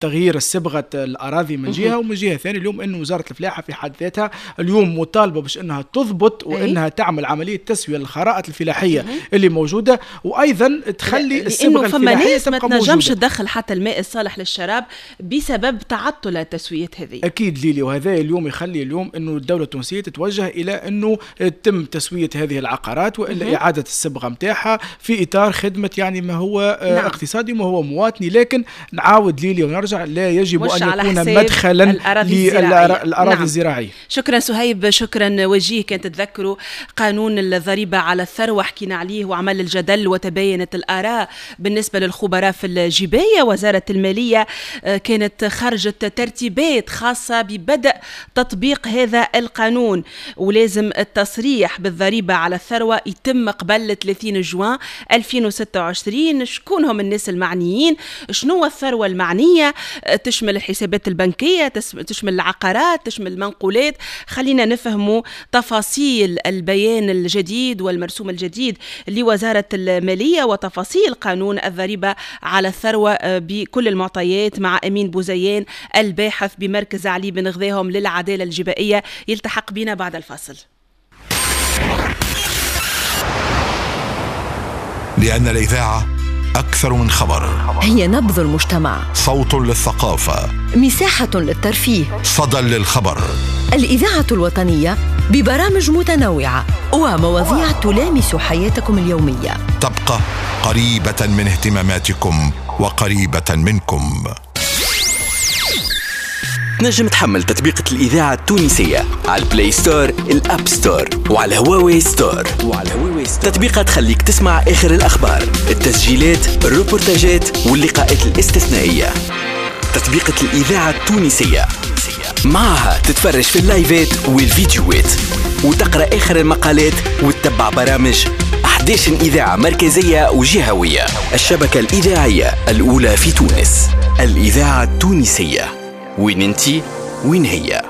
تغيير صبغة الأراضي من جهة، ومن جهة ثانية اليوم أن وزارة الفلاحة في حد ذاتها اليوم مطالبة باش أنها تضبط وأنها تعمل عملية تسوية للخرائط الفلاحية اللي موجودة، وأيضا تخلي الصبغة الفلاحية تبقى موجودة. ما تنجمش تدخل حتى الماء الصالح للشراب بسبب تعطل التسويات هذه. أكيد ليلي، وهذا اليوم يخلي اليوم أنه الدولة التونسية تتوجه إلى أنه تتم تسوية هذه العقارات وإلا إعادة الصبغة متاعها في إطار خدمة يعني ما هو اقتصادي وما هو مواطني. لكن نعاود ليلي ونرجع، لا يجب أن يكون مدخلا للأراضي نعم. الزراعية. شكرا سهيب، شكرا وجيه. كان تتذكروا قانون الضريبة على الثروة حكينا عليه وعمل الجدل وتباينت الآراء بالنسبة للخبراء في الجباية. وزارة المالية كانت خرجت ترتيبات خاصة ببدء تطبيق هذا القانون، ولازم التصريح بالضريبة على الثروة يتم قبل 30 جوان 2026. شكون هم الناس المعنيين؟ شنو الثروة المعنية؟ تشمل الحسابات البنكية، تشمل العقارات، تشمل المنقولات. خلينا نفهموا تفاصيل البيان الجديد والمرسوم الجديد لوزارة المالية وتفاصيل قانون الضريبة على الثروة بكل المعطيات مع أمين بوزيان الباحث بمركز علي بن غذاهم للعدالة الجبائية، يلتحق بنا بعد الفاصل. لأن الإذاعة أكثر من خبر، هي نبض المجتمع، صوت للثقافة، مساحة للترفيه، صدى للخبر. الإذاعة الوطنية ببرامج متنوعة ومواضيع تلامس حياتكم اليومية، تبقى قريبة من اهتماماتكم وقريبة منكم. تنجم تحمل تطبيقة الإذاعة التونسية على ال Play Store، ال App Store، وعلى هواوي Store. تطبيقة تخليك تسمع آخر الأخبار، التسجيلات، الروبورتاجات واللقاءات الاستثنائية. تطبيقة الإذاعة التونسية معها تتفرج في اللايفات والفيديوهات وتقرأ آخر المقالات وتتبع برامج 11 إذاعة مركزية وجهوية. الشبكة الإذاعية الأولى في تونس، الإذاعة التونسية. وين انتي وين هي؟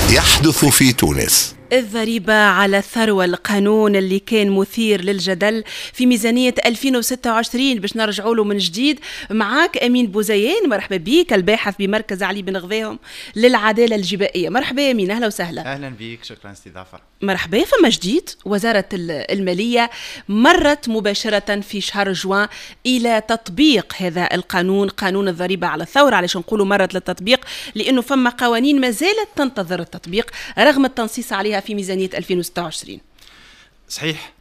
يحدث في تونس. الضريبة على الثروة، القانون اللي كان مثير للجدل في ميزانية 2026 باش نرجعوا له من جديد. معاك أمين بوزيان، مرحبا بك، الباحث بمركز علي بن غذاهم للعدالة الجبائية. مرحبا يا أمين، أهلا وسهلا. أهلا بك، شكرا استضافة. مرحبا. فما جديد، وزارة المالية مرت مباشرة في شهر جوان إلى تطبيق هذا القانون، قانون الضريبة على الثروة. علاش نقولوا مرت للتطبيق؟ لأنه فما قوانين ما زالت تنتظر التطبيق رغم التنصيص عليها في ميزانية 2026. صحيح،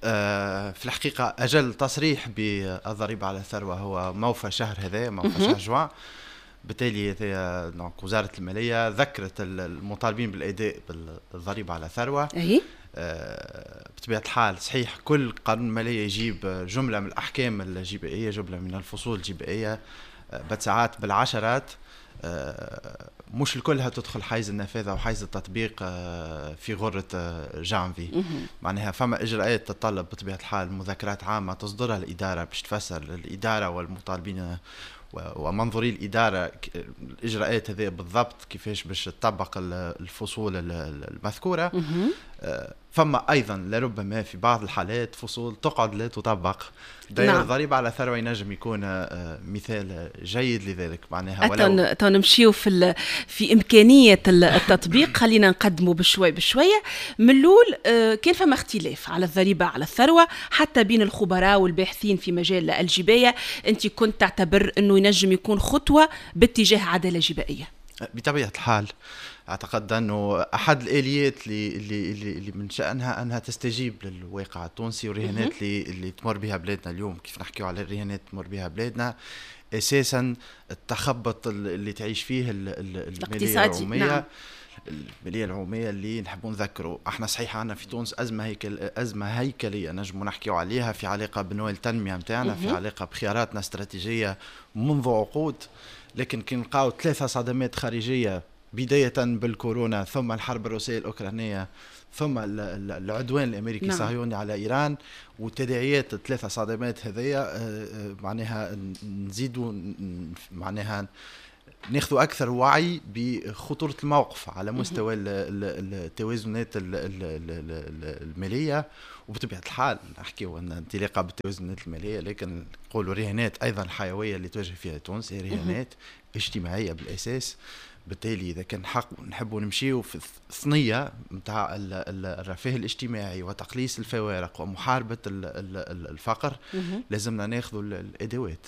في الحقيقة أجل تصريح بالضريبة على الثروة هو موفى شهر هذا، موفى شهر جوان. بالتالي وزارة المالية ذكرت المطالبين بالأداء بالضريبة على الثروة. بطبيعة الحال صحيح كل قانون مالية يجيب جملة من الأحكام الجبائية، جملة من الفصول الجبائية، بساعات بالعشرات، مش الكلها تدخل حيز النفاذ أو حيز التطبيق في غرة جانفي. معناها فما إجراءات تتطلب بطبيعة الحال مذكرات عامة تصدرها الإدارة باش تفسر للإدارة والمطالبين ومنظوري الإدارة الإجراءات هذه بالضبط كيفاش باش تطبق الفصول المذكورة. فما أيضا لربما في بعض الحالات فصول تقعد لا تطبق. دائرة نعم. الضريبة على الثروة ينجم يكون مثال جيد لذلك. معناها ولو نمشيو في إمكانية التطبيق. خلينا نقدمه بشوي بشوية. من الأول كان فما اختلاف على الضريبة على الثروة حتى بين الخبراء والباحثين في مجال الجباية. أنت كنت تعتبر أنه ينجم يكون خطوة باتجاه عدالة جبائية. بطبيعة الحال أعتقد أنه أحد الآليات اللي من شأنها أنها تستجيب للواقع التونسي والرهانات اللي تمر بها بلادنا اليوم. كيف نحكيو على الرهانات تمر بها بلادنا، أساسا التخبط اللي تعيش فيه المالية العمومية. نعم. المالية العمومية اللي نحبوا نذكروا احنا صحيح عندنا في تونس أزمة هيكلية نجموا نحكيو عليها في علاقة بنوع التنمية متاعنا، في علاقة بخياراتنا الاستراتيجية منذ عقود. لكن كي نلقاو 3 صدمات خارجية، بداية بالكورونا ثم الحرب الروسية الأوكرانية ثم العدوان الأمريكي الصهيوني على إيران، وتداعيات 3 صدمات هذيا معناها نزيدوا معناها ناخذ اكثر وعي بخطورة الموقف على مستوى التوازنات المالية. وبطبيعة الحال نحكيو ان انطلاقة بالتوازنات المالية، لكن نقولوا رهانات ايضا حيوية اللي تواجه فيها تونس هي رهانات اجتماعية بالاساس. بالتالي اذا كان حق نحبوا نمشيو في الثنية نتاع الرفاه الاجتماعي وتقليص الفوارق ومحاربه الفقر، لازمنا ناخذوا الادوات،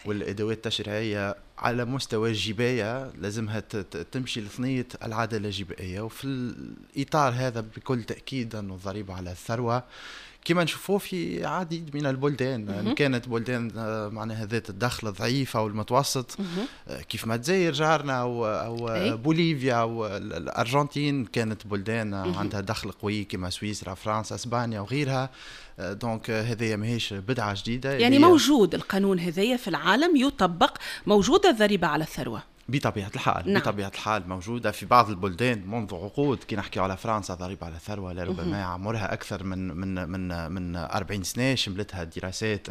والادوات التشريعية على مستوى الجبايه لازمها تمشي لثنيه العدالة الجبائيه. وفي الاطار هذا بكل تاكيد انه الضريبة على الثروة كما نشوفوه في عديد من البلدان، إن كانت بلدان معناها ذات الدخل الضعيف أو المتوسط، كيف ما الجزائر جارنا أو بوليفيا أو الأرجنتين، كانت بلدان عندها دخل قوي كما سويسرا، فرنسا، اسبانيا وغيرها. donc هذه ماهيش بدعة جديدة، يعني موجود القانون هذايا في العالم يطبق، موجودة الضريبة على الثروة بطبيعة الحال. نعم. بطبيعة الحال موجودة في بعض البلدان منذ عقود. كي نحكي على فرنسا ضريبة على الثروة لربما عمرها أكثر من من من 40 سنة، شملتها دراسات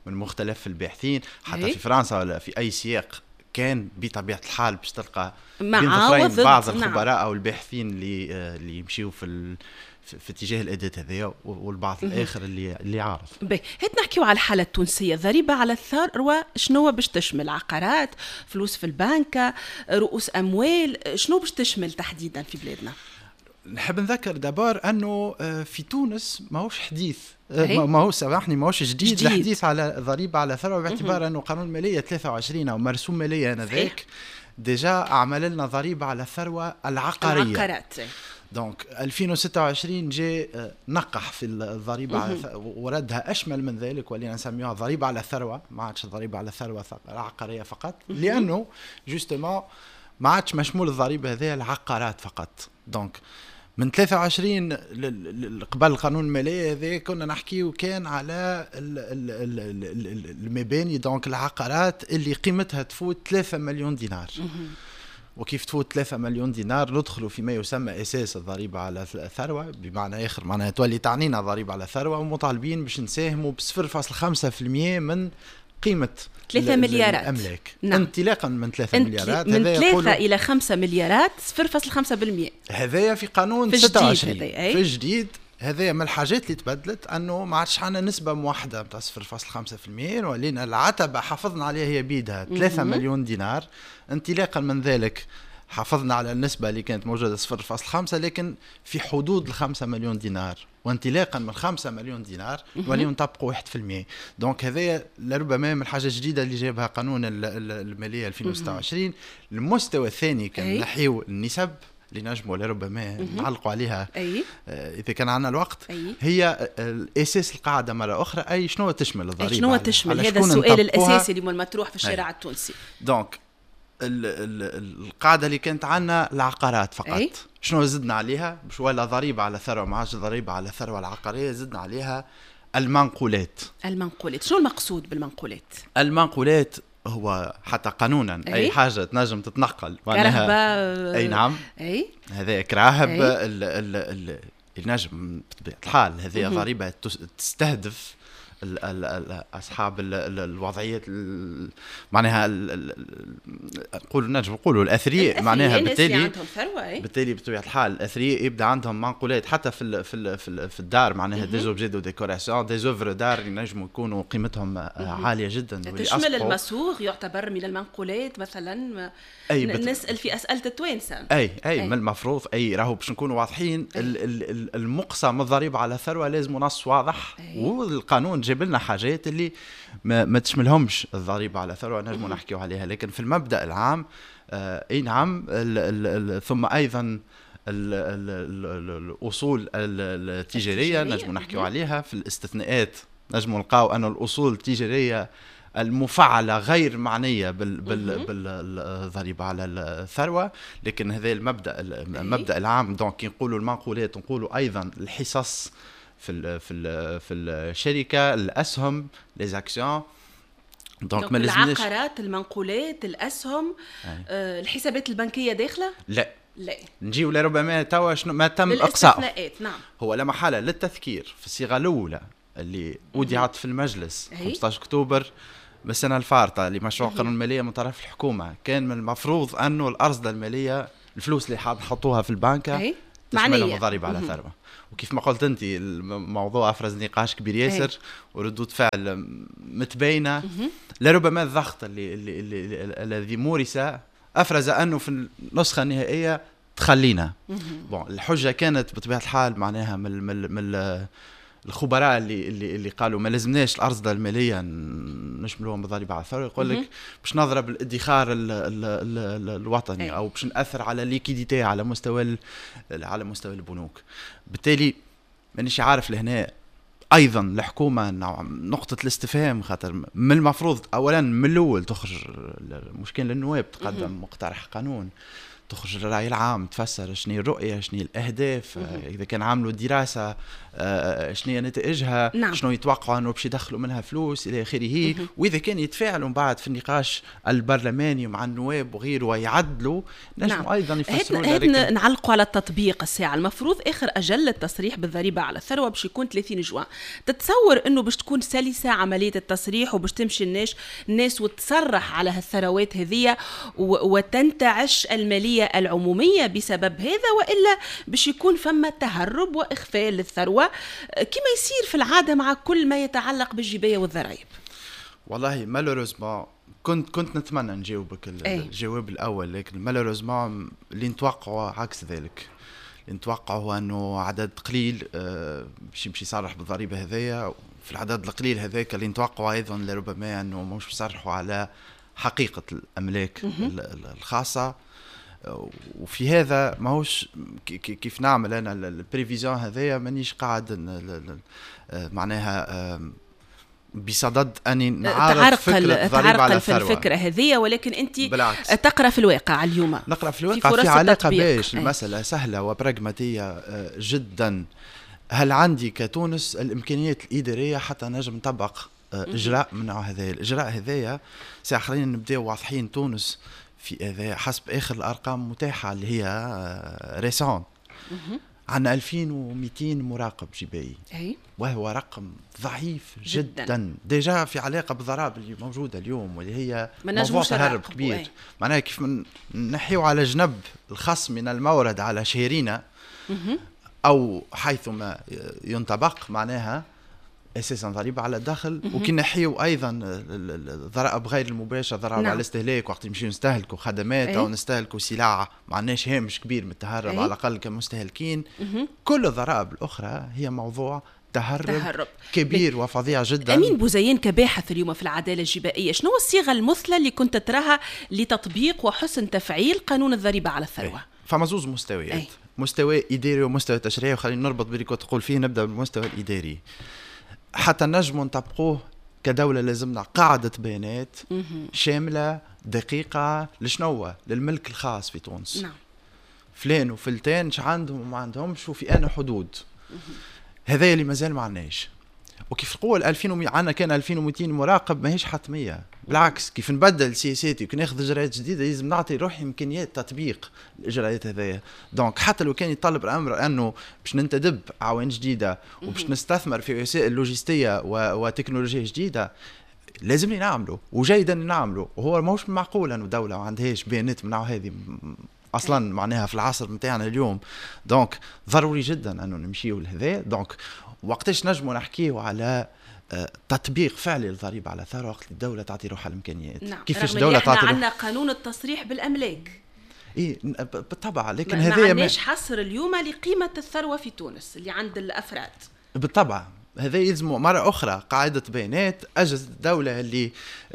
من مختلف الباحثين حتى في فرنسا ولا في أي سياق كان بطبيعة الحال باش تلقى بين بعض الخبراء. أو الباحثين اللي يمشيوا في اتجاه الأداة هذه، والبعض الآخر اللي عارف. باهي، هات نحكيو على الحالة التونسية. ضريبة على الثروة شنو باش تشمل؟ عقارات، فلوس في البنكة، رؤوس أموال، شنو باش تشمل تحديدا في بلادنا؟ نحب نذكر d'abord أنه في تونس ماهوش حديث، ماهوش سامحني ماهوش جديد الحديث على ضريبة على الثروة، باعتبار أنه قانون المالية 23 أو مرسوم مالية آنذاك déjà عمل لنا ضريبة على الثروة العقارية. العقارات. donc 2026 جاء نقح في الضريبة وردها أشمل من ذلك، ولينا نسميها ضريبة على الثروة، ما عادش ضريبة على الثروة العقارية فقط، لأنه justement ما عادش مشمول الضريبة هذه العقارات فقط. donc من 23 قبل قانون المالية هذا كنا نحكيو كان على المباني، donc العقارات اللي قيمتها تفوت 3 مليون دينار. وكيف تفوت 3 مليون دينار ندخلوا فيما يسمى أساس الضريبة على الثروة، بمعنى آخر معناها تولي تعنينا ضريبة على الثروة، ومطالبين باش نساهموا ب 0.5% من قيمة 3 مليارات الأملاك. نعم. انطلاقا من 3 مليارات، من 3 إلى 5 مليارات 0.5%. هذايا في قانون في 26 في الجديد. هذا من الحاجات اللي تبدلت انه ما عادش عندنا نسبه موحدة نتاع 0.5%، ولينا العتبة حافظنا عليها هي بيدها 3 مليون دينار. انطلاقا من ذلك حافظنا على النسبة اللي كانت موجودة 0.5، لكن في حدود 5 مليون دينار، وانطلاقا من 5 مليون دينار ولينا نطبقوا 1%. donc هذا لربما من الحاجة الجديدة اللي جابها قانون المالية 2026. المستوى الثاني كان نحيو النسب اللي نجموا لربما نعلقوا عليها إذا كان عندنا الوقت. هي الأساس القاعدة مرة أخرى، أي شنو تشمل الضريبة؟ شنو تشمل؟ هذا السؤال الأساسي اللي المطروح في الشارع التونسي. donc القاعدة اللي كانت عندنا العقارات فقط. شنو زدنا عليها؟ باش ولا ضريبة على ثروة، ما عادش ضريبة على الثروة العقارية، زدنا عليها المنقولات. المنقولات، شنو المقصود بالمنقولات؟ المنقولات هو حتى قانونا اي حاجة تنجم تتنقل، معناها اي نعم، اي هذا كراهب النجم بطبيعة الحال. هذه ضريبة تستهدف اصحاب الوضعيات، معناها نقولوا نجم نقولوا الاثرياء، معناها بالتالي بالتالي بطبيعة الحال الاثرياء يبدا عندهم منقولات حتى في في في الدار، معناها des objets de décoration، des œuvres d'art اللي نجموا يكونوا قيمتهم عالية جدا. تشمل المصوغ يعتبر من المنقولات مثلا؟ أي نسال في اسئلة التوانسة. اي اي من المفروض، اي راهو باش نكونوا واضحين، المقسم الضريبة على الثروة لازم نص واضح، والقانون جاب لنا حاجات اللي ما تشملهمش الضريبة على الثروة نجموا نحكيو عليها، لكن في المبدا العام اي نعم. ثم ايضا الاصول التجارية نجموا نحكيو عليها في الاستثناءات، نجموا نلقاو ان الاصول التجارية المفعله غير معنية بالضريبه على الثروة، لكن هذا المبدا العام. donc كي نقولوا المنقولات نقولوا ايضا الحصص في في في الشركة، الاسهم، les actions. donc ما لازمناش العقارات، المنقولات، الاسهم، الحسابات البنكية داخله؟ لا لا، نجيو لربما توا شنو ما تم اقصاء. نعم، هو لا محالة للتذكير في الصيغة الاولى اللي اودعت في المجلس 15 اكتوبر بالسنة الفارطه لمشروع قانون المالية من طرف الحكومة، كان من المفروض انه الارصده المالية، الفلوس اللي حاب نحطوها في البنكه تشملهم الضريبة على الثروة. وكيف ما قلت انت الموضوع افرز نقاش كبير ياسر وردود فعل متباينة. لربما الضغط اللي الذي مورس افرز انه في النسخة النهائية تخلينا. bon، الحجة كانت بطبيعة الحال معناها من الخبراء اللي قالوا ما لازمناش الارصده المالية نشملوهم بالضريبه على الثروه، يقول لك باش نضرب الادخار ال ال ال الوطني او باش ناثر على liquidité على مستوى البنوك. بالتالي مانيش عارف لهنا ايضا الحكومة نقطة الاستفهام، خاطر من المفروض اولا من الاول تخرج، مش كان للنواب تقدم مقترح قانون، تخرج للرأي العام تفسر شنو الرؤية، شنو الأهداف، إذا كان عملوا دراسة شنو هي نتائجها، شنو يتوقعوا أنه باش يدخلوا منها فلوس إلى آخره. وإذا كان يتفاعلوا من بعد في النقاش البرلماني مع النواب وغيره ويعدلوا نجموا أيضا يفسروا. نعلقوا على التطبيق الساعة. المفروض آخر أجل للتصريح بالضريبة على الثروة باش يكون 30 جوان. تتصور أنه باش تكون سلسة عملية التصريح وباش تمشي الناس وتصرح على هالثروات هذية وتنتعش المالية العمومية بسبب هذا، وإلا باش يكون فما تهرب وإخفاء للثروة كما يصير في العادة مع كل ما يتعلق بالجباية والضرائب؟ والله malheureusement كنت نتمنى نجاوبك الجواب الاول، لكن malheureusement اللي نتوقعه عكس ذلك. اللي نتوقعه هو انه عدد قليل باش يمشي يصرح بالضريبه هذيا. في العدد القليل هذاك اللي نتوقعه ايضا لربما انه مش يصرحوا على حقيقة الاملاك الخاصه. وفي هذا ماهوش كيف نعمل انا ال prévision هذايا، مانيش قاعد معناها بصدد اني نعارض فكرة الضريبة على الثروه. في الفكرة هذه، ولكن انت بالعكس. تقرا في الواقع اليوم. نقرا في الواقع في علاقة باش المسالة سهلة وبراغماتيه جدا. هل عندي كتونس الامكانيات الادارية حتى نجم نطبق اجراء من نوع هذا؟ الاجراء هذايا ساعة خلينا نبداو واضحين، تونس في هذا حسب اخر الارقام متاحة اللي هي récente عندنا 2200 مراقب جبائي وهو رقم ضعيف جدا، جدا. déjà في علاقة بالضرائب اللي موجودة اليوم واللي هي موضوع تهرب كبير. معناها كيف نحيو على جنب الخصم من المورد على شهرينا او حيثما ينطبق، معناها اساسا ضريبة على الدخل، وكي نحيو ايضا الضرائب غير المباشره، ضرائب على الاستهلاك وقت نمشيو نستهلكوا خدمات او نستهلكوا سلع، ما عندناش هامش كبير من التهرب على الاقل كمستهلكين. كل الضرائب الاخرى هي موضوع تهرب كبير وفظيع جدا. امين بوزيان، كباحث اليوم في العدالة الجبائيه، شنو الصيغة المثلى اللي كنت تراها لتطبيق وحسن تفعيل قانون الضريبة على الثروة؟ فما زوز مستويات، مستوى اداري ومستوى تشريعي، وخلينا نربط باللي كنت تقول فيه. نبدا بالمستوى الاداري. حتى نجموا نطبقوه كدولة لازمنا قاعدة بيانات شاملة دقيقة. لشنو؟ للملك الخاص في تونس. فلان وفلتان اش عندهم وما عندهمش وفي أنا حدود. هذا اللي مازال ما عندناش. وكيف نقول 2000 عندنا كان 2200 مراقب ماهيش حتميه، بالعكس كيف نبدل سياساتي وكي ناخذ اجراءات جديدة لازم نعطي روحي امكانيات تطبيق الاجراءات هذايا. donc حتى لو كان يطلب الامر انه باش ننتدب اعوان جديدة وباش نستثمر في وسائل لوجستية وتكنولوجيا جديده، لازمني نعمله وجيدا نعمله. وهو ماهوش معقول انه دولة ما عندهاش بيانات من نوع هذه اصلا معناها في العصر نتاعنا اليوم. donc ضروري جدا انه نمشيو لهذا. donc وقتاش نجموا نحكيو على تطبيق فعلي للضريبه على الثروه؟ وقت الدولة تعطي روحها الامكانيات. كيفاش الدولة تعطي؟ عندنا قانون التصريح بالاملاك. اي بالطبع، لكن هذا ما عندناش حصر اليوم لقيمة الثروة في تونس اللي عند الافراد. بالطبع، هذا يلزم مرة أخرى قاعدة بيانات. أجهزة الدولة اللي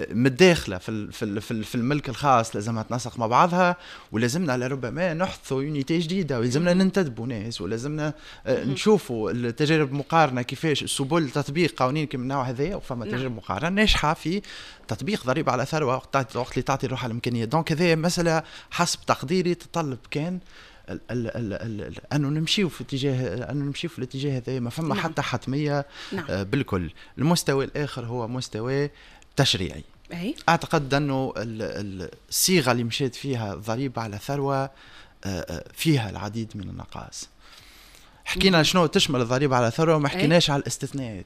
متداخلة في الملك الخاص لازمها تنسق مع بعضها، ولازمنا لربما نحدثوا unité جديدة، ولازمنا ننتدبوا ناس، ولازمنا نشوفوا التجارب المقارنة كيفاش سبل تطبيق قوانين كما النوع هذايا. وفما تجارب مقارنة ناجحة في تطبيق ضريبة على ثروة وقت اللي تعطي روحها الإمكانية. donc هذه مسألة حسب تقديري تتطلب كان ال ال ال ال انه نمشيو في الاتجاه هذا. ما فما حتى حتمية بالكل. المستوى الاخر هو مستوى تشريعي. اعتقد انه الصيغة اللي مشيت فيها الضريبة على ثروة فيها العديد من النقائص. حكينا شنو تشمل الضريبة على الثروة وما حكيناش على الاستثناءات.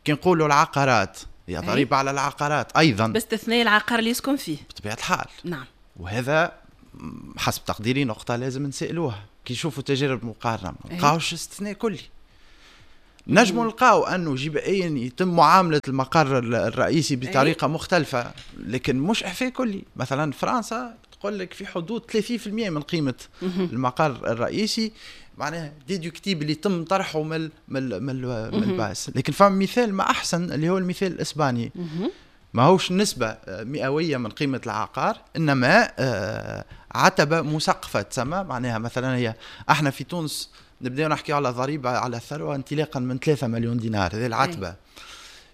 كي نقولوا العقارات هي ضريبة على العقارات ايضا، باستثناء العقار اللي يسكن فيه بطبيعة الحال. نعم. وهذا حسب تقديري نقطة لازم نسالوها كي نشوفوا تجارب مقارنة، ما نلقاوش استثناء كلي. نجموا نلقاو انه جبائيا يتم معاملة المقر الرئيسي بطريقة مختلفة، لكن مش اعفاء كلي. مثلا فرنسا تقول لك في حدود 30% من قيمة المقر الرئيسي معناها déductible اللي يتم طرحه من ال base. لكن فما مثال ما احسن اللي هو المثال الاسباني، ما هوش نسبة مئوية من قيمة العقار، إنما عتبة مسقفة تسمى. معناها مثلا هي احنا في تونس نبداو نحكي على ضريبة على الثروة انطلاقا من 3 مليون دينار، هذه العتبة.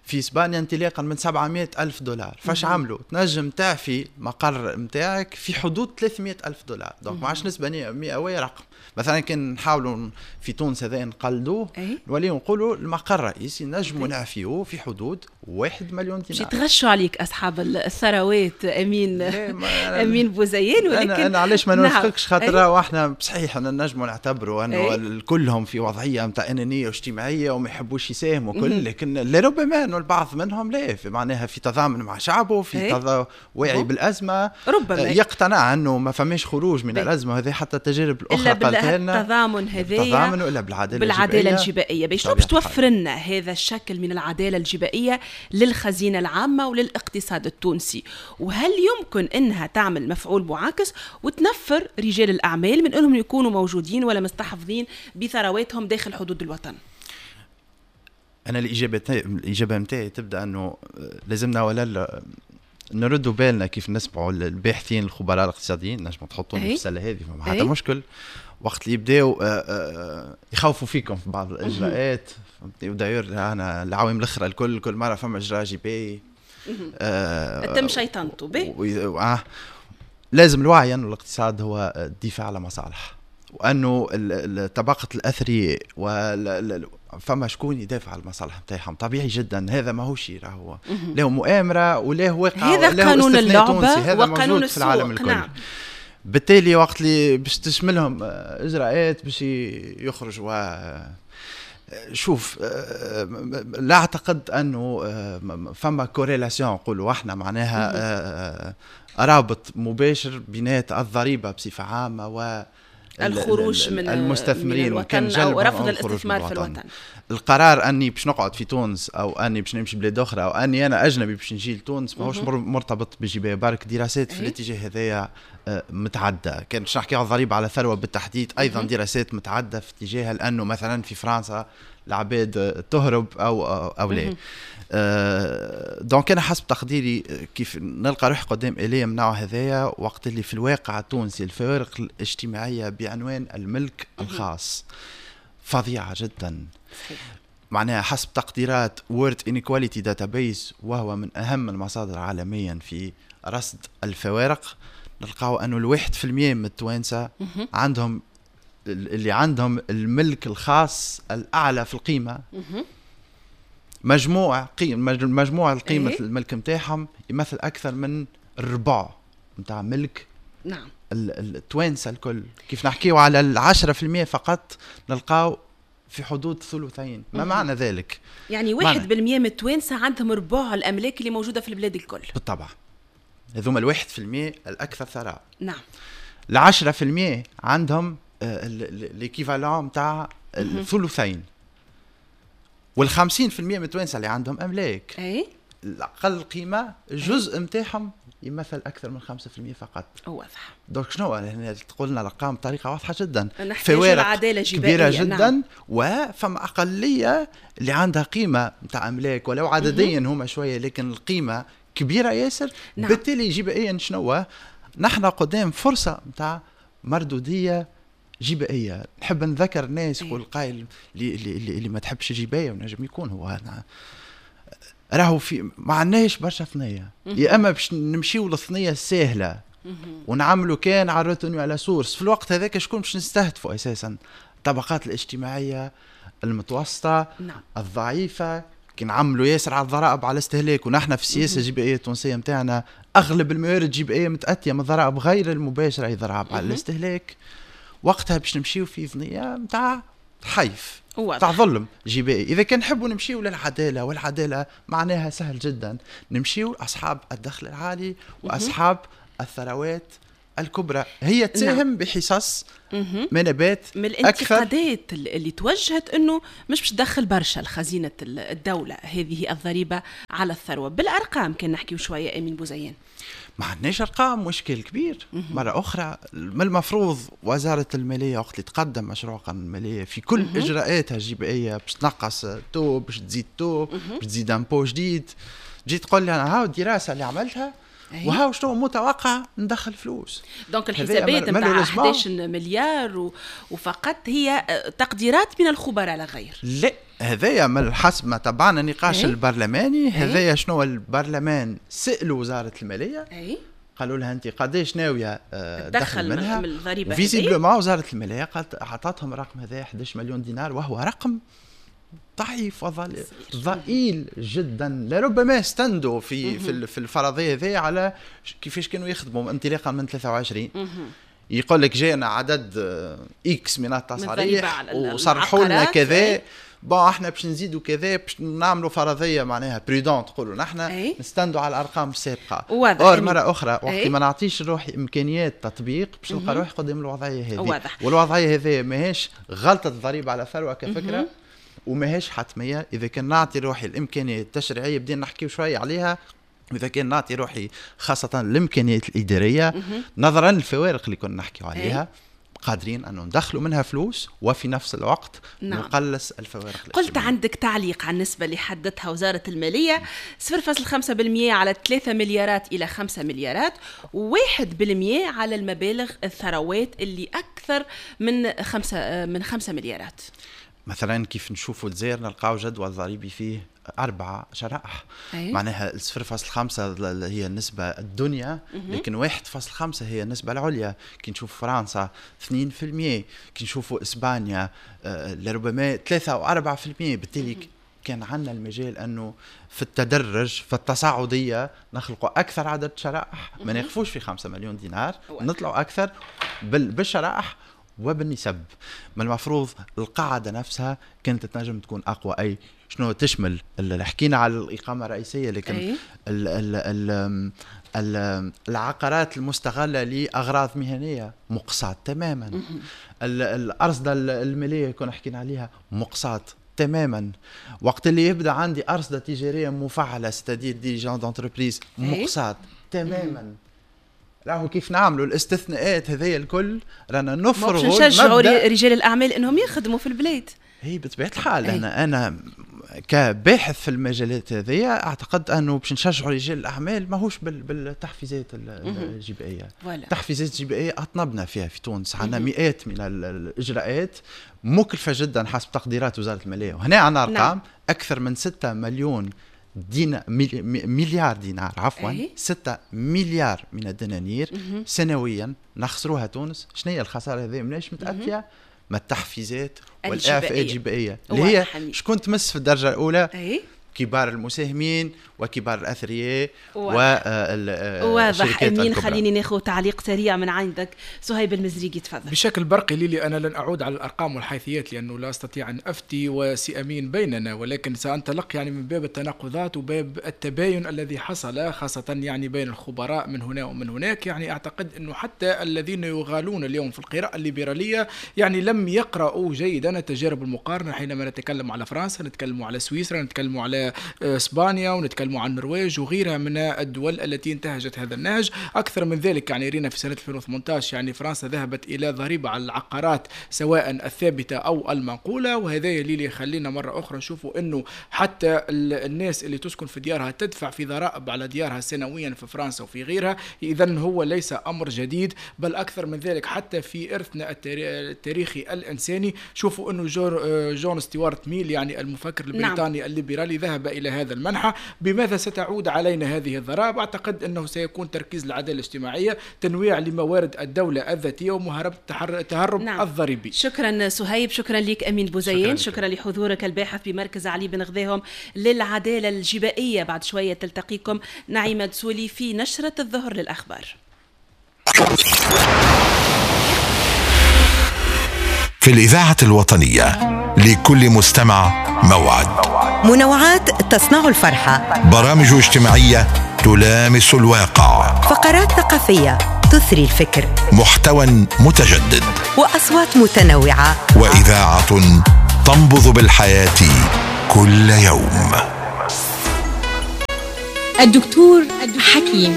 في اسبانيا انطلاقا من 700 ألف دولار. فاش عملوا؟ تنجم تعفي مقر نتاعك في حدود 300 ألف دولار، donc ما عادش نسبة مئوية، رقم. مثلا كان نحاولوا في تونس هذا نقلدوه، نوليو نقولوا المقر الرئيسي نجموا نعفيوه في حدود 1 مليون دينار. يتغشوا عليك اصحاب الثروات امين امين بوزيان، ولكن انا علاش ما نوافقكش؟ خاطر احنا صحيح انا نجموا نعتبروا انه كلهم في وضعية نتاع انانية واجتماعية وما يحبوش يساهموا كل، لكن لربما انه البعض منهم لا، في معناها في تضامن مع شعبه، في واعي بالازمه، ربما يقتنع انه ما فماش خروج من الازمة هذه. حتى التجارب الاخرى قالتها لنا التضامن هذايا، التضامن ولا بالعدالة الجبائيه. باش شنو باش توفر لنا هذا الشكل من العدالة الجبائيه للخزينه العامة وللاقتصاد التونسي؟ وهل يمكن انها تعمل مفعول معاكس وتنفر رجال الاعمال من انهم يكونوا موجودين ولا مستحفظين بثرواتهم داخل حدود الوطن؟ انا الاجابة نتاعي تبدا انه لازمنا ولا نردوا بالنا كيف نسمعوا الباحثين الخبراء الاقتصاديين، نجموا تحطوني في السلة هذه ما حتى مشكل، وقت اللي يبداو يخوفوا فيكم في بعض الاجراءات. وداير انا العوام الاخرى الكل كل مرة فما اجراء جبائي تم شيطنته به. لازم الوعي انه الاقتصاد هو الدفاع على مصالح، وانه طبقه الاثرياء فما شكون يدافع على المصالح نتاعهم، طبيعي جدا. هذا ماهوش راهو له مؤامرة ولا واقع، هذا قانون اللعبة، هذا وقانون في العالم الكل. نعم. بالتالي وقت اللي باش تشملهم اجراءات باش يخرجوا، شوف لا اعتقد انه فما corrélation نقولوا احنا معناها رابط مباشر بينات الضريبة بصفة عامة و الخروج من المستثمرين، وكان أو رفض الاستثمار في الوطن. القرار اني باش نقعد في تونس او اني باش نمشي بلاد اخرى او اني انا اجنبي باش نجي لتونس ماهوش مرتبط بجبايه برك. دراسات في الاتجاه هذايا متعددة. كان باش نحكي على الضريبة على الثروة بالتحديد ايضا دراسات متعددة في اتجاهها، لانه مثلا في فرنسا العباد تهرب او لا. donc انا حسب تقديري كيف نلقى روحي قدام اليه من نوع هذايا، وقت اللي في الواقع التونسي الفوارق الاجتماعية بعنوان الملك الخاص فظيعة جدا. معناها حسب تقديرات World Inequality Database، وهو من اهم المصادر عالميا في رصد الفوارق، نلقاو انه 1% من التوانسة عندهم اللي عندهم الملك الخاص الاعلى في القيمة. مجموع القيمة الملك نتاعهم يمثل أكثر من الربع نتاع ملك. نعم. التوانسة الكل. كيف نحكيو على 10% فقط نلقاو في حدود ثلثين. ما معنى ذلك؟ يعني 1% من التوانسة عندهم ربع الأملاك اللي موجودة في البلاد الكل. بالطبع هذوما 1% الأكثر ثراء. نعم. 10% عندهم l'équivalent نتاع الثلثين، وال50% من التوانسة اللي عندهم املاك الاقل قيمة الجزء نتاعهم يمثل اكثر من 5% فقط. واضح. donc شنو هنا تقولنا الارقام بطريقة واضحة جدا، فوارق كبيرة جدا. نعم. وفما اقلية اللي عندها قيمة نتاع املاك ولو عدديا هما شوية، لكن القيمة كبيرة ياسر. نعم. بالتالي جبائيا شنو نحن قدام فرصة نتاع مردوديه جبائيه. نحب نذكر الناس يقول قائل اللي ما تحبش جبايه، ونجم يكون هو راهو في ما عندناش برشا ثنيه، يا اما باش نمشيو للثنيه السهلة ونعملوا كان على retenue à la source. في الوقت هذاك شكون باش نستهدفوا اساسا؟ الطبقات الاجتماعية المتوسطة. نعم. الضعيفة. كي نعملوا ياسر على الضرائب على الاستهلاك، ونحن في السياسة الجبائيه التونسية نتاعنا اغلب الموارد الجبائيه متاتيه من الضرائب غير المباشرة، اي ضرائب على الاستهلاك. وقتها باش نمشيو في ثنيه نتاع حيف تاع ظلم جبائي. اذا كان نحبوا نمشيو للعدالة، والعدالة معناها سهل جدا، نمشيو اصحاب الدخل العالي واصحاب الثروات الكبرى، هي تساهم نعم. بحصص منابات من الانتقادات اللي توجهت انه مش باش تدخل برشا لخزينه الدولة هذه الضريبة على الثروة. بالارقام كان نحكيو شوية امين بوزيان. ما عندناش ارقام، مشكل كبير. مرة اخرى من المفروض وزارة المالية وقت اللي تقدم مشروع قانون المالية في كل اجراءاتها الجبائيه باش تنقص taux، باش تزيد taux، باش تزيد impôt جديد، تجي تقول لي انا هاو الدراسة اللي عملتها وهاو شنو متوقع ندخل فلوس. donc الحسابات نتاع 11 مليار وفقط هي تقديرات من الخبراء لا غير. لا، هذايا من حسب ما تبعنا النقاش البرلماني، هذايا شنو البرلمان سألوا وزارة المالية، قالوا لها انت قداش ناوية تدخل منها من الضريبة. visiblement وزارة المالية قالت اعطتهم الرقم هذا 11 مليون دينار، وهو رقم ضعيف وضئيل جدا. لربما استندوا في في الفرضية ذي على كيفاش كانوا يخدموا انطلاقا من 23. يقول لك جانا عدد X من التصاريح وصرحوا لنا كذا، bon احنا باش نزيدوا كذا، باش نعملوا فرضية معناها prudente، تقولوا نحن نستندوا على الارقام السابقة. or مرة اخرى وقت ما نعطيش روحي امكانيات تطبيق باش نلقى روحي قدام الوضعية هذه. والوضعيه هذه ماهيش غلطه الضريبة على الثروة كفكرة، وماهيش حتمية. اذا كان نعطي روحي الامكانيات التشريعية بدينا نحكيو شوية عليها، واذا كان نعطي روحي خاصة الامكانيات الادارية نظرا للفوارق اللي كنا نحكيو عليها، قادرين أن ندخلوا منها فلوس وفي نفس الوقت نعم. نقلص الفوارق. قلت عندك تعليق على النسبة اللي حددتها وزارة المالية 0.5% على 3 مليارات إلى 5 مليارات، و1% على المبالغ الثروات اللي أكثر من 5 مليارات. مثلا كيف نشوفوا الجزائر نلقاو جدول ضريبي فيه 4 شرائح. معناها 0.5 هي النسبة الدنيا، لكن 1.5 هي النسبة العليا. كي نشوف فرنسا 2%، كي نشوفوا إسبانيا لربما 3 أو 4%. بالتالي كان عندنا المجال أنه في التدرج في التصاعدية نخلقوا أكثر عدد شرائح، ما نقفوش في 5 مليون دينار، نطلعوا أكثر بالشرائح وبالنسب. من المفروض القاعدة نفسها كانت تنجم تكون أقوى. أي شنو تشمل اللي حكينا على الإقامة الرئيسية، لكن ال ال ال ال العقارات المستغلة لأغراض مهنية مقصات تماما، الأرصدة المالية كنا حكينا عليها مقصات تماما. وقت اللي يبدأ عندي أرصدة تجارية مفعلة c'est-à-dire dirigeant d'entreprise مقصات تماما. راهو كيف نعملوا الاستثناءات هذيا الكل رانا نفرغوا نشجعوا رجال الاعمال انهم يخدموا في البلاد. هي بطبيعة الحال. انا كباحث في المجالات هذيا اعتقد انه باش نشجعوا رجال الاعمال ماهوش بالتحفيزات الجبائيه. التحفيزات الجبائيه اطنبنا فيها في تونس، عندنا مئات من الاجراءات مكلفة جدا حسب تقديرات وزارة المالية، وهنا عندنا ارقام نعم. اكثر من 6 مليون مليار دينار، عفوا 6 مليار من الدنانير سنويا نخسروها تونس. شنو هي الخسارة هذه؟ مناش متاتيه ما التحفيزات والاعفاءات الجبائيه اللي هي شكون تمس في الدرجة الاولى؟ كبار المساهمين وكبار الاثرياء واضح امين. خليني ناخذ تعليق سريع من عندك صهيب المزريقي، تفضل. بشكل برقي ليلي، انا لن اعود على الارقام والحيثيات لانه لا استطيع ان افتي وسي امين بيننا، ولكن سانطلق يعني من باب التناقضات وباب التباين الذي حصل خاصة يعني بين الخبراء من هنا ومن هناك. يعني اعتقد انه حتى الذين يغالون اليوم في القراءة الليبرالية يعني لم يقرأوا جيدا التجارب المقارنة. حينما نتكلم على فرنسا، نتكلم على سويسرا، نتكلم على اسبانيا، ونتكلم عن النرويج وغيرها من الدول التي انتهجت هذا النهج. اكثر من ذلك يعني رينا في سنة 2018 يعني فرنسا ذهبت الى ضريبة على العقارات سواء الثابتة او المنقولة، وهذا اللي يخلينا مرة اخرى نشوفوا انه حتى الناس اللي تسكن في ديارها تدفع في ضرائب على ديارها سنويا في فرنسا وفي غيرها. اذا هو ليس امر جديد، بل اكثر من ذلك حتى في ارثنا التاريخي الانساني شوفوا انه جون ستيوارت ميل يعني المفكر البريطاني نعم. الليبرالي ذهب إلى هذا المنحى. بماذا ستعود علينا هذه الضرائب؟ أعتقد أنه سيكون تركيز العدالة الاجتماعية، تنويع لموارد الدولة الذاتية، ومهاربة التهرب نعم. الضريبي. شكرا صهيب، شكرا لك أمين بوزيان، شكرا لحضورك الباحث بمركز علي بن غذاهم للعدالة الجبائية. بعد شوية تلتقيكم نعيمة دسولي في نشرة الظهر للأخبار. في الإذاعة الوطنية لكل مستمع موعد. منوعات تصنع الفرحة، برامج اجتماعية تلامس الواقع، فقرات ثقافية تثري الفكر، محتوى متجدد، وأصوات متنوعة، وإذاعة تنبض بالحياة كل يوم. الدكتور حكيم.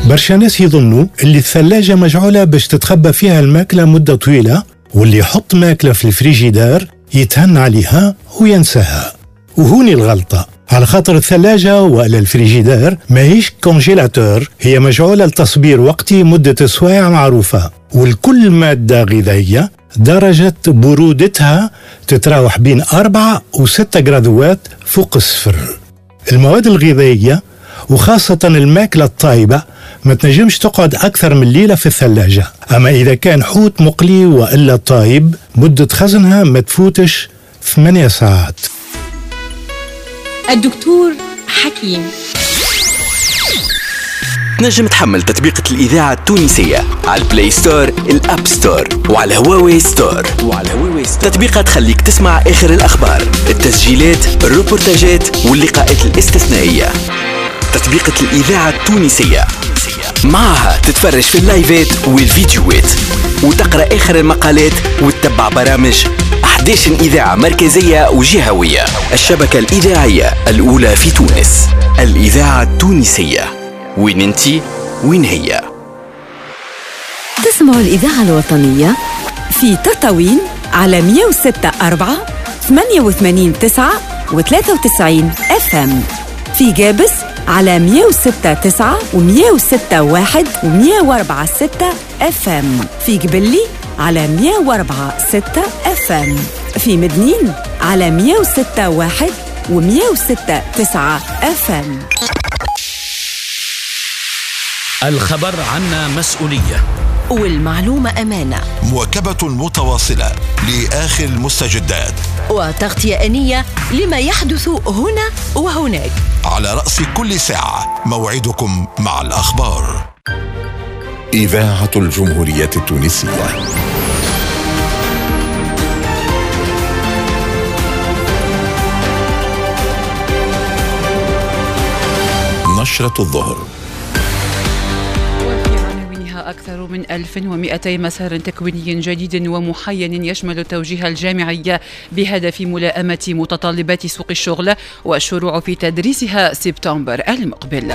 برشا ناس يظنوا اللي الثلاجة مجعولة باش تتخبى فيها الماكلة مدة طويلة، واللي يحط ماكلة في الفريجيدار يتهنى عليها وينساها. وهوني الغلطة، على خاطر الثلاجة ولا الفريجيدار ماهيش congélateur، هي مجعولة لتصبير وقتي مدة سوايع معروفة، والكل مادة غذائية درجة برودتها تتراوح بين 4 و6 جرادوات فوق الصفر. المواد الغذائية وخاصة الماكلة الطايبة ما تنجمش تقعد أكثر من ليلة في الثلاجة، أما إذا كان حوت مقلي وإلا طايب مدة خزنها ما تفوتش 8 ساعات. الدكتور حكيم. تنجم تحمل تطبيقة الإذاعة التونسية على ال Play Store، ال App Store، وعلى هواوي Store. تطبيقة تخليك تسمع آخر الأخبار، التسجيلات، الروبورتاجات واللقاءات الاستثنائية. تطبيقة الإذاعة التونسية معها تتفرج في اللايفات والفيديوهات وتقرأ آخر المقالات وتتبع برامج 11 إذاعة مركزية وجهوية. الشبكة الإذاعية الأولى في تونس، الإذاعة التونسية. وين انتي وين هي؟ تسمعوا الإذاعة الوطنية في تطاوين على 106.4 88.9 و93 FM، في جابس على 106.9 و106.1 و104.6 FM، في قبلي على 104.6 FM، في مدنين على 106.1 و106.9 FM. الخبر عنا مسؤولية والمعلومة أمانة. مواكبة متواصلة لآخر المستجدات وتغطية آنية لما يحدث هنا وهناك. على رأس كل ساعة موعدكم مع الأخبار. إذاعة الجمهورية التونسية. نشرة الظهر. أكثر من 1200 مسار تكويني جديد ومحين يشمل التوجيه الجامعي بهدف ملائمة متطلبات سوق الشغل والشروع في تدريسها سبتمبر المقبل.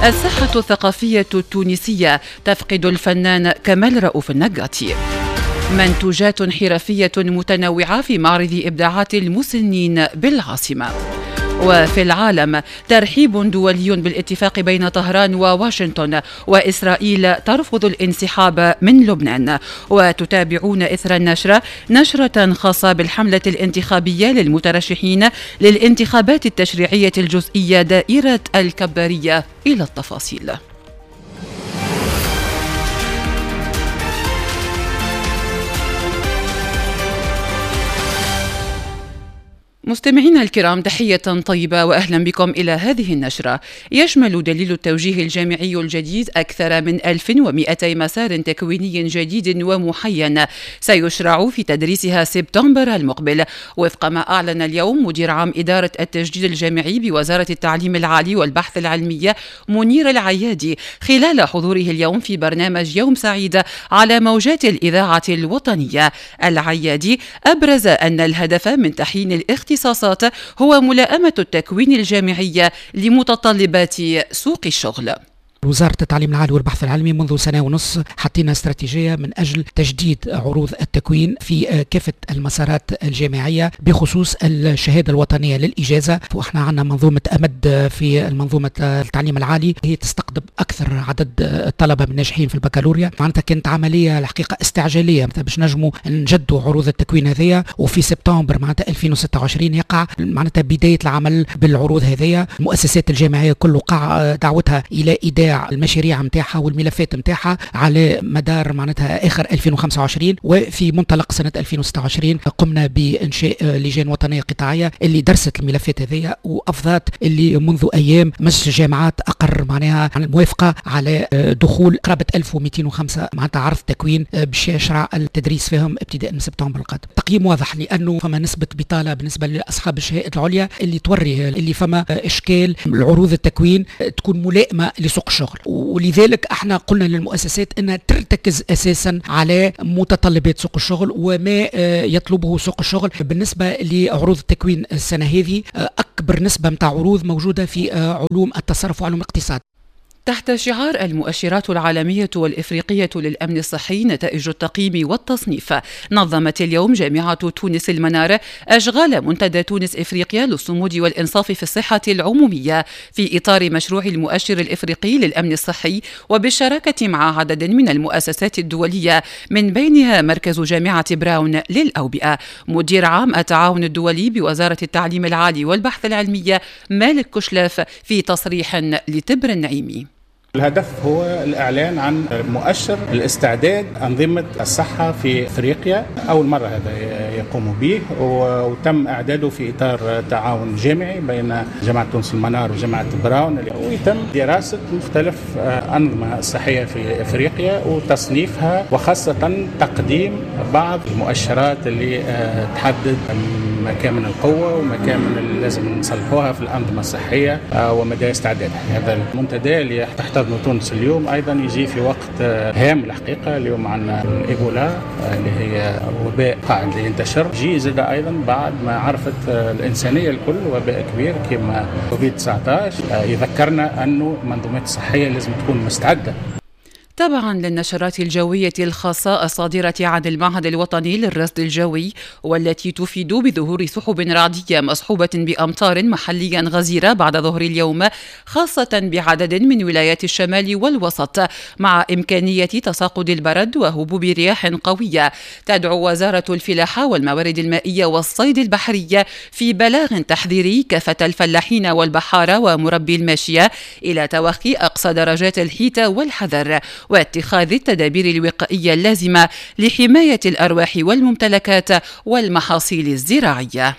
الساحة الثقافية التونسية تفقد الفنان كمال رؤوف النقاطي. منتوجات حرفية متنوعة في معرض إبداعات المسنين بالعاصمة. وفي العالم ترحيب دولي بالاتفاق بين طهران وواشنطن، وإسرائيل ترفض الانسحاب من لبنان. وتتابعون إثر النشرة نشرة خاصة بالحملة الانتخابية للمترشحين للانتخابات التشريعية الجزئية دائرة الكبارية. إلى التفاصيل. مستمعينا الكرام، تحية طيبة وأهلا بكم إلى هذه النشرة. يشمل دليل التوجيه الجامعي الجديد أكثر من 1200 مسار تكويني جديد ومحين سيشرع في تدريسها سبتمبر المقبل، وفق ما أعلن اليوم مدير عام إدارة التجديد الجامعي بوزارة التعليم العالي والبحث العلمي منير العيادي خلال حضوره اليوم في برنامج يوم سعيد على موجات الإذاعة الوطنية. العيادي أبرز أن الهدف من تحيين الاختصاصات هو ملائمة التكوين الجامعي لمتطلبات سوق الشغل. وزارة التعليم العالي والبحث العلمي منذ سنة ونص حطينا استراتيجية من أجل تجديد عروض التكوين في كافة المسارات الجامعية بخصوص الشهادة الوطنية للإجازة. وإحنا عندنا منظومة أمد في منظومة التعليم العالي هي تستقطب أكثر عدد الطلبة من الناجحين في البكالوريا. معناتها كانت عملية الحقيقة استعجالية باش نجموا نجدوا عروض التكوين هذيا، وفي سبتمبر معناتها 2026 يقع معناتها بداية العمل بالعروض هذيا. المؤسسات الجامعية كل وقع دعوتها إلى إيداع نتاع المشاريع نتاعها والملفات نتاعها على مدار معناتها اخر 2025، وفي منطلق سنة 2026 قمنا بانشاء لجان وطنية قطاعيه اللي درست الملفات هذيا وافضت اللي منذ ايام مجلس الجامعات اقر معناها الموافقة على دخول قرابة 1205 معناتها عرض تكوين باش يشرع التدريس فيهم ابتداء من سبتمبر القادم. تقييم واضح لانه فما نسبه بطاله بالنسبة لاصحاب الشهائد العليا اللي توري اللي فما اشكال العروض التكوين تكون ملائمه لسوق الشغل، ولذلك احنا قلنا للمؤسسات انها ترتكز اساسا على متطلبات سوق الشغل وما يطلبه سوق الشغل. بالنسبة لعروض التكوين السنة هذه اكبر نسبه نتاع عروض موجودة في علوم التصرف وعلوم الاقتصاد. تحت شعار المؤشرات العالمية والإفريقية للأمن الصحي نتائج التقييم والتصنيف، نظمت اليوم جامعة تونس المنار أشغال منتدى تونس إفريقيا للصمود والإنصاف في الصحة العمومية في إطار مشروع المؤشر الإفريقي للأمن الصحي، وبالشراكة مع عدد من المؤسسات الدولية من بينها مركز جامعة براون للأوبئة. مدير عام التعاون الدولي بوزارة التعليم العالي والبحث العلمي مالك كشلاف في تصريح لتبر النعيمي: الهدف هو الإعلان عن مؤشر الاستعداد أنظمة الصحة في أفريقيا، أول مرة هذا يقوم به، وتم إعداده في إطار تعاون جامعي بين جامعة تونس المنار وجامعة براون، ويتم دراسة مختلف أنظمة الصحية في أفريقيا وتصنيفها، وخاصة تقديم بعض المؤشرات اللي تحدد مكامن القوة ومكامن اللي لازم نصلحوها في الأنظمة الصحية ومدى استعدادها. هذا المنتدى اللي تحتضنه تونس اليوم أيضا يجي في وقت هام الحقيقة. اليوم عندنا الإيبولا اللي هي وباء قاعد ينتشر، جي زاد أيضا بعد ما عرفت الإنسانية الكل وباء كبير كما كوفيد 19، يذكرنا أنه المنظومات الصحية لازم تكون مستعدة. تبعا للنشرات الجوية الخاصة الصادرة عن المعهد الوطني للرصد الجوي، والتي تفيد بظهور سحب رعدية مصحوبة بأمطار محليا غزيرة بعد ظهر اليوم، خاصة بعدد من ولايات الشمال والوسط، مع إمكانية تساقط البرد وهبوب رياح قوية. تدعو وزارة الفلاحة والموارد المائية والصيد البحري في بلاغ تحذيري كافة الفلاحين والبحارة ومربي الماشية إلى توخي أقصى درجات الحيطة والحذر واتخاذ التدابير الوقائية اللازمة لحماية الأرواح والممتلكات والمحاصيل الزراعية.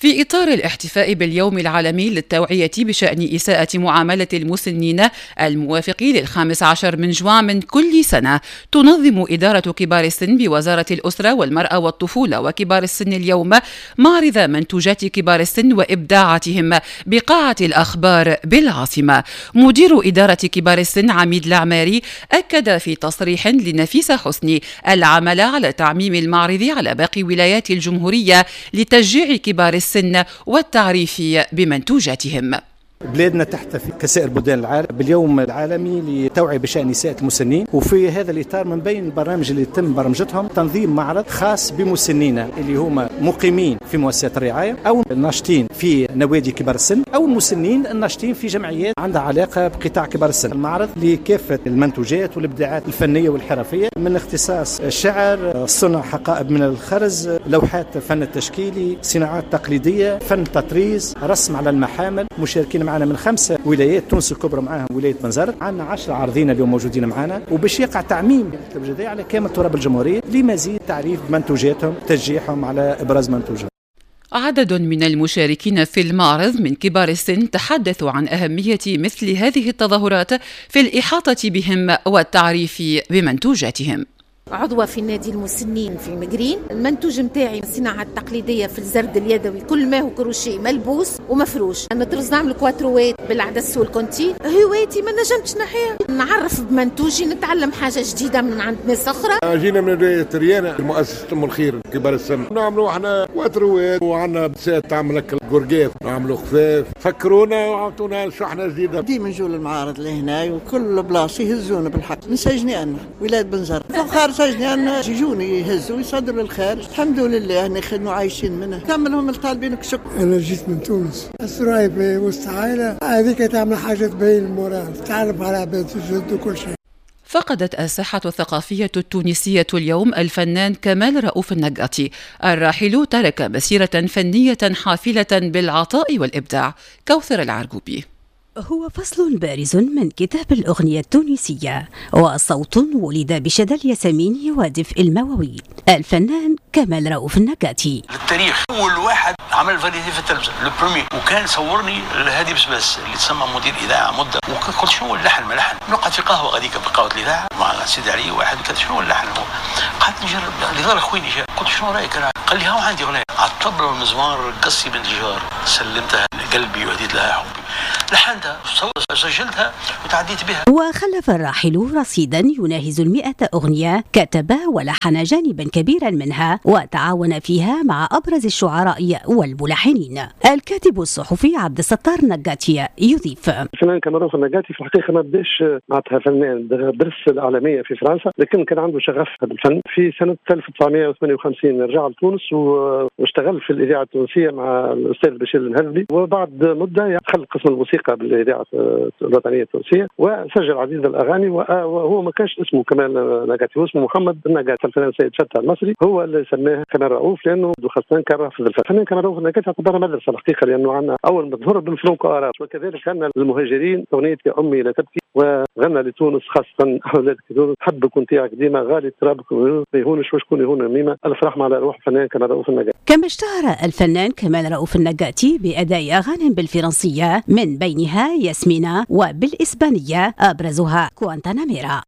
في إطار الاحتفاء باليوم العالمي للتوعية بشأن إساءة معاملة المسنين الموافق ل15 من جوان من كل سنة، تنظم إدارة كبار السن بوزارة الأسرة والمرأة والطفولة وكبار السن اليوم معرض منتوجات كبار السن وإبداعاتهم بقاعة الأخبار بالعاصمة. مدير إدارة كبار السن عميد العماري أكد في تصريح لنفيسة حسني العمل على تعميم المعرض على باقي ولايات الجمهورية لتشجيع كبار السن والتعريف بمنتوجاتهم. بلادنا تحتفي كسائر بلدان العالم باليوم العالمي للتوعية بشأن إساءة المسنين، وفي هذا الإطار من بين البرامج اللي تم برمجتهم تنظيم معرض خاص بمسنينا اللي هما مقيمين في مؤسسات الرعاية أو الناشطين في نوادي كبار السن أو المسنين الناشطين في جمعيات عندها علاقة بقطاع كبار السن. المعرض لكافة المنتوجات والإبداعات الفنية والحرفية من اختصاص الشعر، صنع حقائب من الخرز، لوحات فن التشكيلي، صناعات تقليدية، فن تطريز، رسم على المحامل. مشاركين معنا من 5 ولايات تونس الكبرى، معاهم ولاية بنزرت. عندنا 10 عارضين اليوم موجودين معنا، وباش يقع تعميم التوجيه على كامل تراب الجمهورية لمزيد تعريف منتوجاتهم، تشجيعهم على إبراز منتوجهم. عدد من المشاركين في المعرض من كبار السن تحدثوا عن أهمية مثل هذه التظاهرات في الإحاطة بهم والتعريف بمنتوجاتهم. عضوة في نادي المسنين في المقرين، المنتوج متاعي الصناعة التقليدية في الزرد اليدوي، كل ما هو كروشيه ملبوس ومفروش. نطرز نعمل كواتروات بالعدس والكونتي. هوايتي ما نجمتش نحيها، نعرف بمنتوجي، نتعلم حاجة جديدة من عند ناس أخرى. جينا من ولاية ريانة، مؤسسة أم الخير كبار السن، نعملوا احنا كواتروات وعندنا بسات تعمل لك القرقاف، نعملوا خفاف. فكرونا وعطونا شحنة جديدة. ديما نجوا للمعارض لهنا وكل بلاصة يهزونا بالحق. من سجني أنا ولاية بنزرت، فخار سجني يجوني يهزوا ويصدروا للخارج. الحمد لله نخدموا عايشين منها، كملهم الطالبين كشك. أنا جيت من تونس، السراي في وسط عائلة هذيك تعمل حاجة تبين ال moral، تعرف على عباد جد وكل شيء. فقدت الساحة الثقافية التونسية اليوم الفنان كمال رؤوف النقاطي. الراحل ترك مسيرة فنية حافلة بالعطاء والإبداع. كوثر العرقوبي. هو فصل بارز من كتاب الأغنية التونسية، وصوت ولد بشدى الياسمين ودفء المواويل، الفنان كمال رؤوف النقاطي. التاريخ أول واحد عمل variété في التلفزة le premier، وكان صورني الهادي بسباس اللي تسمى مدير إذاعة مدة، وقلت شنو اللحن ما لحن، نقعد في قهوة غاديك في قهوة الإذاعة مع سيدي علي واحد، قلت شنو اللحن هو، قعدت نجرب اللي ظهر خويني جاء، قلت شنو رأيك أنا؟ قال لي هاو عندي أغنية على الطبلة والمزمار قصي بنت الجار، سلمتها قلبي وهديت لها حبي، لحنتها سجلتها وتعديت بها. وخلف الراحل رصيدا يناهز 100 أغنية، كتب ولحن جانبا كبيرا منها وتعاون فيها مع أبرز الشعراء والملحنين. الكاتب الصحفي عبد الستار نقاتي يضيف: الفنان كمال رؤوف النقاتي في الحقيقة ما بداش معناتها فنان، درس الإعلامية في فرنسا، لكن كان عنده شغف بالفن. في سنة 1958 رجع لتونس واشتغل في الإذاعة التونسية مع الأستاذ بشير المهذبي، وبعد مدة دخل قسم الموسيقى بالإذاعة الوطنية التونسية وسجل عديد الأغاني. وهو ما كانش اسمه كمال نقاتي، هو اسمه محمد النقاتي. الفنان سيد فتح المصري هو اللي سماه كمال رؤوف لأنه خاصة كان رافض الفن. الفنان كمال رؤوف النقاتي اعتبرها مدرسة الحقيقة، لأنه عندنا أول ما ظهر بال franco-arabe، وكذلك غنى للمهاجرين أغنية يا أمي لا تبكي، وغنى لتونس خاصة أولاد تونس حبك وانتيعك ديما غالي ترابك ما يهونش وشكون يهون ميمة. ألف رحمة على روح الفنان كمال رؤوف النقاتي. كما اشتهر الفنان كمال رؤوف النقاتي بأداء أغاني بالفرنسية من بينها ياسمينة، وبالإسبانية أبرزها كوانتاناميرا.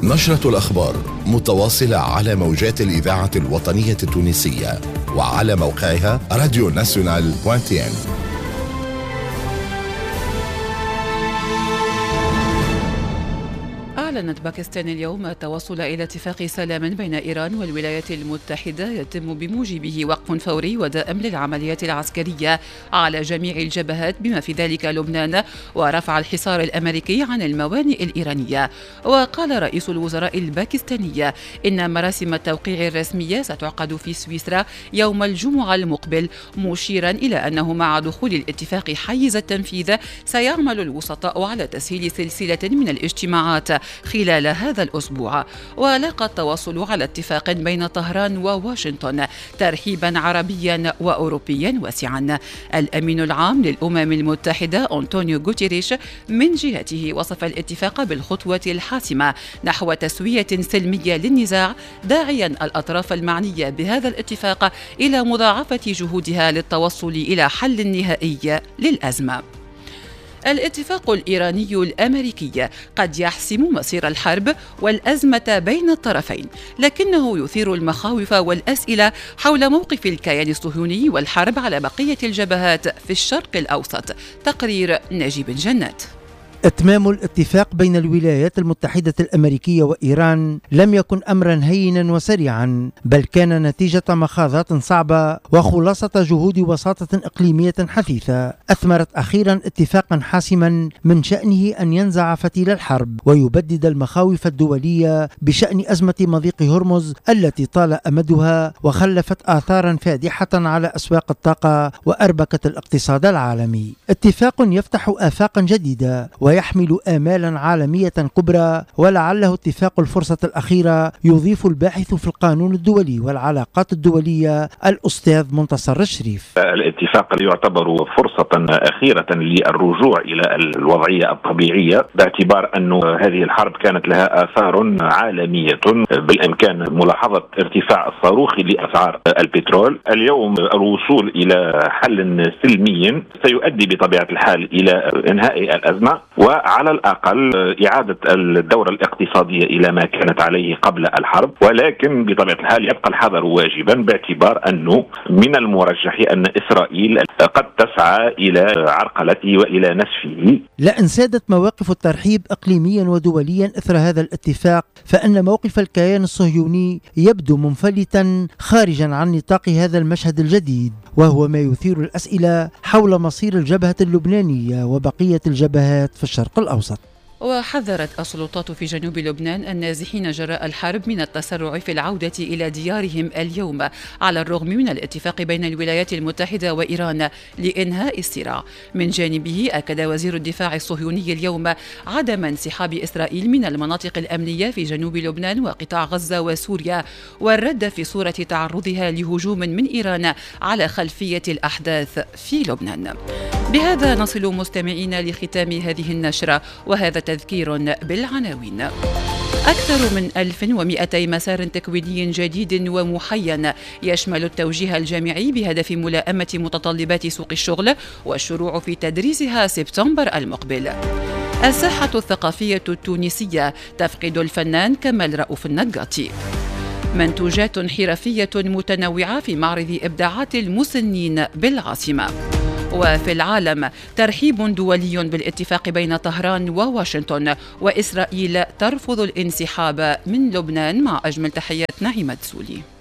نشرة الأخبار متواصلة على موجات الإذاعة الوطنية التونسية وعلى موقعها راديو ناسيونال .tn. أعلنت باكستان اليوم التوصل إلى اتفاق سلام بين إيران والولايات المتحدة يتم بموجبه وقف فوري ودائم للعمليات العسكرية على جميع الجبهات بما في ذلك لبنان، ورفع الحصار الأمريكي عن الموانئ الإيرانية. وقال رئيس الوزراء الباكستاني إن مراسم التوقيع الرسمية ستعقد في سويسرا يوم الجمعة المقبل، مشيرا إلى أنه مع دخول الاتفاق حيز التنفيذ سيعمل الوسطاء على تسهيل سلسلة من الاجتماعات خلال هذا الأسبوع. ولاقى التواصل على اتفاق بين طهران وواشنطن ترحيبا عربيا وأوروبيا واسعا. الأمين العام للأمم المتحدة أنطونيو غوتيريش من جهته وصف الاتفاق بالخطوة الحاسمة نحو تسوية سلمية للنزاع، داعيا الأطراف المعنية بهذا الاتفاق إلى مضاعفة جهودها للتوصل إلى حل نهائي للأزمة. الاتفاق الإيراني الأمريكي قد يحسم مصير الحرب والأزمة بين الطرفين، لكنه يثير المخاوف والأسئلة حول موقف الكيان الصهيوني والحرب على بقية الجبهات في الشرق الأوسط. تقرير نجيب جنات. إتمام الاتفاق بين الولايات المتحدة الأمريكية وإيران لم يكن أمرا هينا وسريعا، بل كان نتيجة مخاضات صعبة وخلاصة جهود وساطة إقليمية حثيثة أثمرت أخيرا اتفاقا حاسما من شأنه أن ينزع فتيل الحرب ويبدد المخاوف الدولية بشأن أزمة مضيق هرمز التي طال أمدها وخلفت آثارا فادحة على أسواق الطاقة وأربكت الاقتصاد العالمي. اتفاق يفتح آفاقا جديدة ويحمل آمالا عالمية كبرى، ولعله اتفاق الفرصة الأخيرة، يضيف الباحث في القانون الدولي والعلاقات الدولية الأستاذ منتصر الشريف. الاتفاق يعتبر فرصة أخيرة للرجوع إلى الوضعية الطبيعية، باعتبار أن هذه الحرب كانت لها آثار عالمية، بالإمكان ملاحظة ارتفاع الصاروخي لأسعار البترول. اليوم الوصول إلى حل سلمي سيؤدي بطبيعة الحال إلى إنهاء الأزمة، وعلى الأقل إعادة الدورة الاقتصادية إلى ما كانت عليه قبل الحرب. ولكن بطبيعة الحال يبقى الحذر واجبا، باعتبار أنه من المرجح أن إسرائيل قد تسعى إلى عرقلته وإلى نسفه. لا انسادت مواقف الترحيب إقليميا ودوليا إثر هذا الاتفاق، فإن موقف الكيان الصهيوني يبدو منفلتا خارجا عن نطاق هذا المشهد الجديد، وهو ما يثير الأسئلة حول مصير الجبهة اللبنانية وبقية الجبهات في الشرق الأوسط. وحذرت السلطات في جنوب لبنان النازحين جراء الحرب من التسرع في العودة إلى ديارهم اليوم، على الرغم من الاتفاق بين الولايات المتحدة وإيران لإنهاء الصراع. من جانبه أكد وزير الدفاع الصهيوني اليوم عدم انسحاب إسرائيل من المناطق الأمنية في جنوب لبنان وقطاع غزة وسوريا، والرد في صورة تعرضها لهجوم من إيران على خلفية الأحداث في لبنان. بهذا نصل مستمعينا لختام هذه النشرة، وهذا تذكير بالعناوين. أكثر من 1200 مسار تكويني جديد ومحين يشمل التوجيه الجامعي بهدف ملائمة متطلبات سوق الشغل والشروع في تدريسها سبتمبر المقبل. الساحة الثقافية التونسية تفقد الفنان كمال رؤوف النقاطي. منتوجات حرفية متنوعة في معرض إبداعات المسنين بالعاصمة. وفي العالم ترحيب دولي بالاتفاق بين طهران وواشنطن، وإسرائيل ترفض الانسحاب من لبنان. مع أجمل تحيات نعيمة سولي.